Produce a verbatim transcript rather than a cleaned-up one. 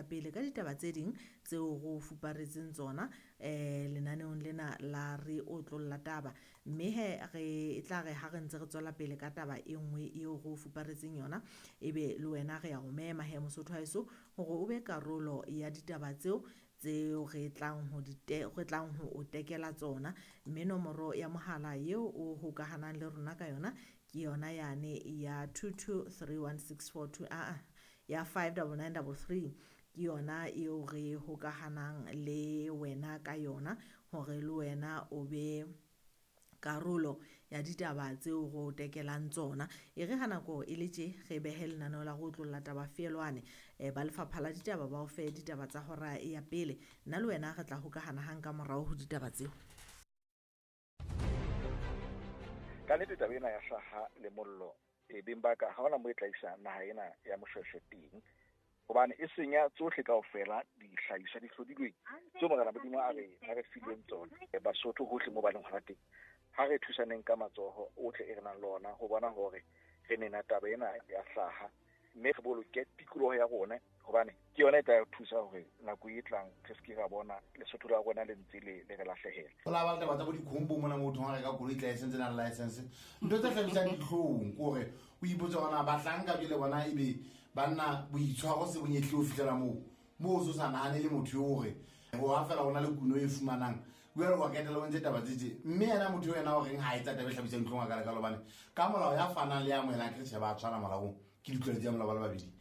ya pele ka ditaba tse ding tseo go fuparetseng tsona um lenaneong lena la Re Otlolla Taba. Mme he re e tla re ha re ntse re tswela pele ka taba e nngwe eo go fuparetseng yona, ebe le wena re ya go mema he Mosotho haeso hore o be karolo ya ditaba tseo tseo re tlang ho di re tlang ho o tekela tsona. Mme nomoro ya mohala eo o hokahanang le rona ka yona ke yona yane ya two two three one six four two, aa ya five double nine double three, ke yona eo re hokahanang le wena ka yona hore le wena o be karolo ya ditaba tseo go tekelang tsona. E re ha nako e le tje re behe lenaneo la go otlolla taba feelwane, um ba lefapha la ditaba ba o fe ditaba tsa hora ya pele. Nna le wena re tla hokahana hang ka morao ho ditaba tseo. Ka nnete taba ena ya hlaha le mollo e beng ba ka ha hona moo e tla isa naha ena ya Moshweshwe teng, hobane e senya tsohle kaofela dihlahiswa di hlodilweng tseo Morena Modimo a re a re fileng tsona. Basotho hohle moo ba leng hona teng, ha re thusaneng ka matsoho ohle e re nang le ona ho bona hore re nena taba ena ya hlaha, mme re boloke tikoloho ya rona, hobane ke yona e tla re thusa hore nako e tlang re se ke ra bona Lesotho la rona le ntse le le re lahlehela. Ho la ba le taba tsa bo dikhombo mona motho ha reka koloi tla e sentse na le license. Ntho tse hlabisang dihlong ke hore o ipotse hore na bahlanka jwale bona ebe banna boitshwaro se bonyehle ho fihlela moo, moo o so sa nahane le motho eo hore ho ha fela hona le kuno e fumanang jwale wa ketela o ntse taba tse tje. Mme yena motho ena o reng ha etsa taba e hlabisang dihlong a ka lekalo, hobane ka molao ya fanang le ya amohelang ke tjhe ba tshwana molaong, ke ditlwaelo tsa molao ba le babedi.